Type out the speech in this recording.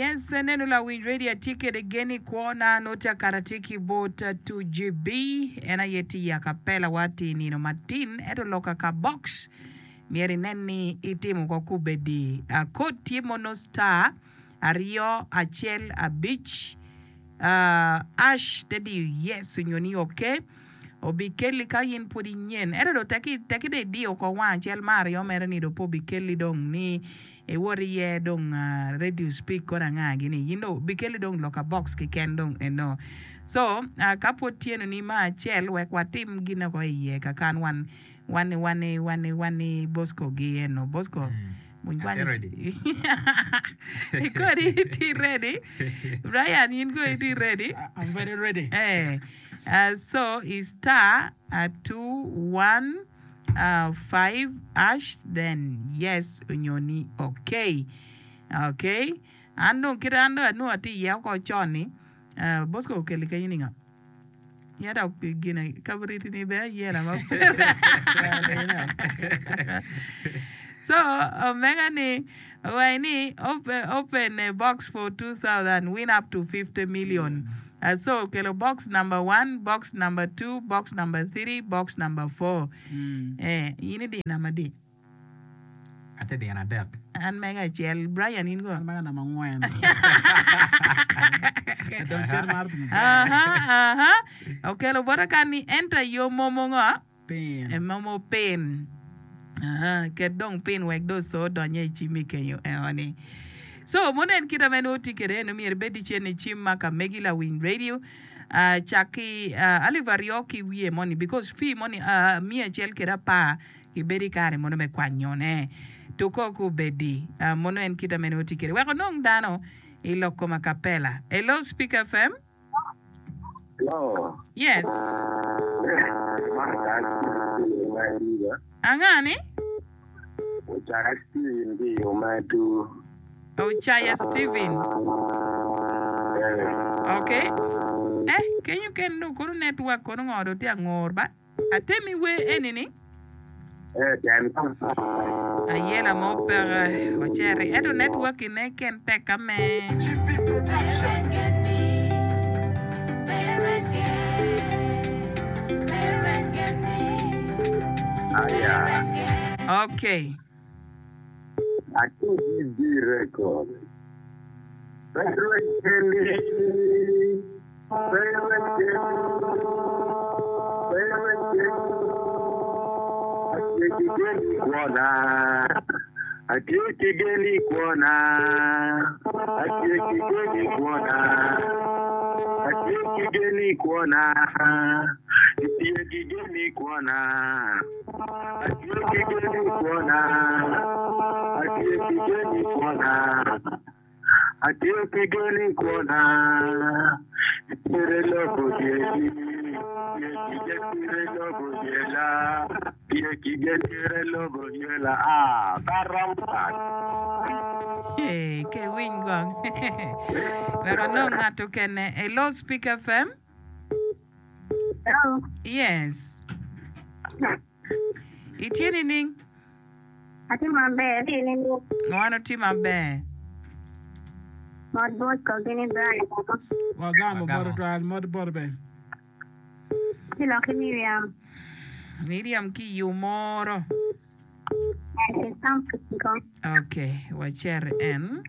Yes, aneno lawiny radio atye kede gen i kwona nongo tye akato atye ki bot 2GB en aye tye i acapella wa tye i nino matin ento loka ka box myero inen ni itimo ko kubedi code tye mono star aryo acel abic ash te diyo yes onyo ni ok obikelli ka in pwod inyen ento dong tekki tekki dong idiyo oko wang acel ma aryo mere ni dong pe obikelli dong ni iwot iye dong radio speak kono anga gini in dong obikelli dong loka box keken dong eno so ka pwod tye eno ni ma acel wek watim gine oko iye kakan wan Wani wani wani wani Bosco gi eno Bosco Atye ready. Kodi itye ready Brian in kono itye ready I'm very ready. Eh, uh, so i star uh, 2 1 uh, 5 ash then yes onyo ni okay okay an dong kit an dong anongo atye iye oko con ni uh, Bosco okeli kenyo ni ngo Yada gine kabriti ni bene ayela ma So omega ni owaco ni open a box for 2000 win up to 50 million. Uh, so okelo box number 1, box number 2, box number 3, box number 4. Eh, in idi namba adi? Atye dyeno adek. An mega acel. Brian in go? An mega namba angwen. Dong cer mar pi maber. Aha, aha. Okelo bota kan ni enter your momo ngo? Pin. E momo pin. Aha, ket dong pin wek dong oco odonye i cimmi kenyo eno ni. So, mono en kite ma nongo tye kwede eno myero ibed icen i cim ma ka megi lawiny radio. Uh, cak ki uh, alip aryo ki wiye moni because fee moni uh, miya acel kede apar Ibedo i kare mono me kwanyone. Tuko ku obedi. Mono en kite mene oti kede. Wek onong dano i lok kom acapella. Hello Speak FM. Hello. Yes. Anga ni? Ocaya Steven ki i Ometu. Ocaya Steven. Okay. Eh, kenyo ken dong kono network kono ngo dong tye angur ba. Atemi wer eni ni. Ayela mo peke waceri ento network ne ken tek ka me. Okay. Atye ki gen i kwona, atye ki gen i kwona, atye ki gen i kwona, atye ki gen i kwona, itye ki gen i kwona, atye ki gen i kwona, atye ki gen i kwona. Atye ki gen i kwona, Tye lobo dyegi, tye ki gen tye lobo dyela, tye ki gen tye lobo dyela, ah, pe romo pat. Hey, ke winy kong. Wek anong ngat okene. Hello, Speak FM. Hello. Yes. Itye nining? Atye maber, itye nining? Wan watye maber. Mot Bosco gini Brian woko. Wagamo bot tutwal, mot boti bene. Ci lok ki Miriam. Miriam ki i Omoro. Yes, it's something. Okay, wacer en.